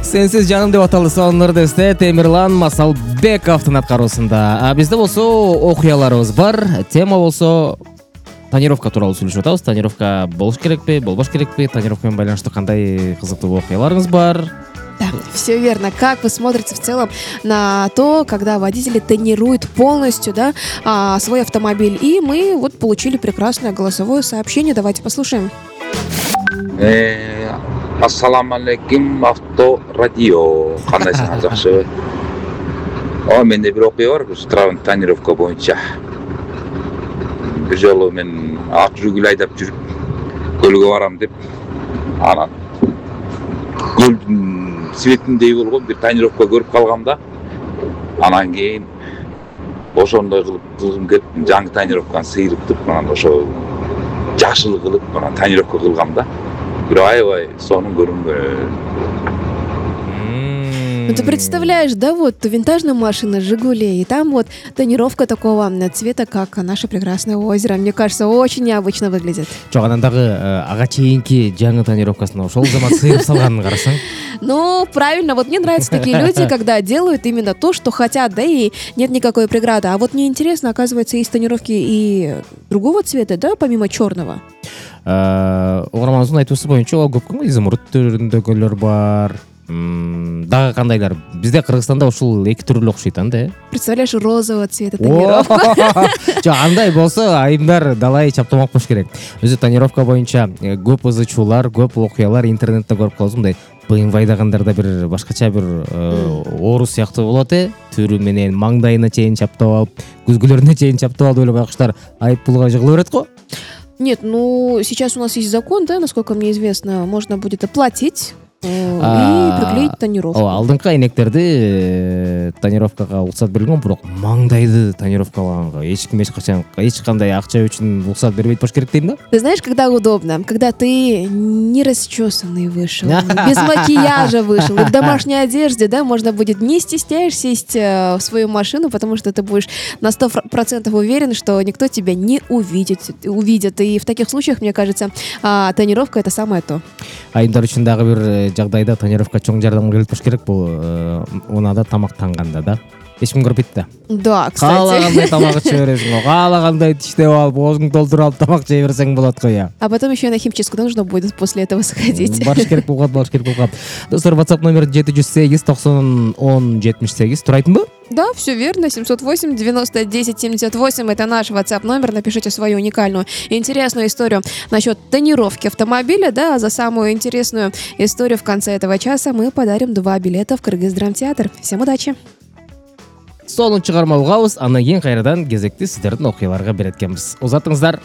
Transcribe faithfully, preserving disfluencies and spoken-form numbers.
Сенсиз жаным деп аталды сонунду эсте Темирлан Масалбековдун аткаруусунда. Бизде болсо окуяларыбыз бар. Тема болсо тонировка тууралуу сүйлөшүп атабыз. Тонировка болуш керекпи, болбош керекпи? Тонировка менен байланыштуу кандай кызыктуу окуяларыңыз бар? Да, все верно. Как вы смотрите в целом на то, когда водители тонируют полностью, да, а, свой автомобиль? И мы вот получили прекрасное голосовое сообщение. Давайте послушаем. Ассаламу алейкум, авто радио. Кандайсыңар, жакшыбы? О, менде бир окуя бар, тонировка боюнча. Бир жолу мен ак жүргүл айдап жүрүп, көлгө барам деп, анан көлдүн светиндей болгон бир тонировка көрүп калгам да. Анан кийин ошондой кылып кылгым келип, жаңы тонировканы сыйрыптып, анан ошо жакшылык кылып, анан тонировка кылгам да. Бирок аябай сонун көрүнгөн. Ну ты представляешь, да, вот винтажная машина «Жигули», и там вот тонировка такого цвета, как наше прекрасное озеро. Мне кажется, очень необычно выглядит. Жок, анан дагы ага чейинки жаңы тонировкасын ошол замат сыйрып салганын карасаң. Ну, правильно, вот мне нравятся такие люди, когда делают именно то, что хотят, да, и нет никакой преграды. А вот мне интересно, оказывается, есть тонировки и другого цвета, да, помимо черного? Угарманыбыздын айтуусу боюнча көп изумруд түрүндөгүлөр бар. Дагы кандайлар? Бизде Кыргызстанда ушул эки түрлүү окшойт анда, э? Представляешь, розового цвета тонировка. Жок, андай болсо айымдар далай чаптамак болуш керек. Өзү тонировка боюнча көп ызычуулар, көп окуялар интернетте көрүп калдым, мындай быйынбайдагандарда бир башкача бир оору сыяктуу болот, э? Түрү менен маңдайына чейин чаптап алып, күзгүлөрүнө чейин чаптап алып, ойлоп байкуштар айып пулга жыгыла берет го. Нет, ну сейчас у нас есть закон, да, насколько мне известно, можно будет оплатить и приклеить тонировку. Алдыңкы айнектерди тонировкага уруксат берилген, бирок маңдайды тонировкалаганга эч ким эч качан эч кандай акча үчүн уруксат бербейт болуш керек дейм да. Ты знаешь, когда удобно? Когда ты не расчесанный вышел, без макияжа вышел, и в домашней одежде, да, можно будет, не стесняясь, сесть в свою машину, потому что ты будешь на сто процентов уверен, что никто тебя не увидит, увидит. И в таких случаях, мне кажется, тонировка — это самое то. Айымдар үчүн дагы бир жагдайда тонировка чоң жардам келип туруш керек, бул унаада тамактанганда да. Эч ким көрбөйт да. Да, кстати. Каалагандай тамак иче бересиң го, каалагандай тиштеп алып, оозуңду толтуруп алып тамак жей берсең болот го я. А потом еще и на химчистку нужно будет после этого сходить. Барыш керек болгон, барыш керек болгон. Достор, WhatsApp номер жети жүз сегиз токсон он жетимиш сегиз. Турайтынбы? Да, все верно. семьсот восемь девяносто десять семьдесят восемь. Это наш WhatsApp номер. Напишите свою уникальную и интересную историю насчет тонировки автомобиля, да, а за самую интересную историю в конце этого часа мы подарим два билета в Кыргыз-драмтеатр. Всем удачи! Сонун чыгарма угабыз, андан кийин кайрадан кезекти сиздердин окуяларга берет экенбиз. Узатыңыздар.